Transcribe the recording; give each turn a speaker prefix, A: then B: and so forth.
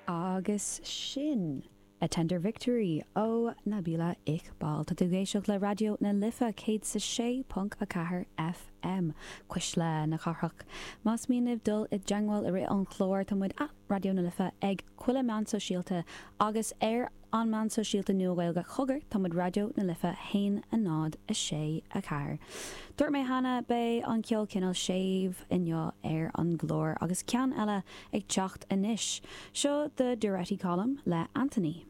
A: Agus sin A Tender Victory ó Nabila Iqbal. Tá tú ag éisteacht le Raidió na Life 106.4 FM, Cuisle na Cathrach. Más mian libh dul i dteangmháil i rith an chláir, tá muid at Raidió na Life ag chuile meán sóisialta agus ar an meán sóisialta nua Gaeilge cogar, tá muid Raidió na Life 1 0 6 4. Dúirt mé cheana, beidh an ceol cineál séimh inniu ar an gclár agus ceann eile ag teacht anois. Seo The Duretti Column le Anthony.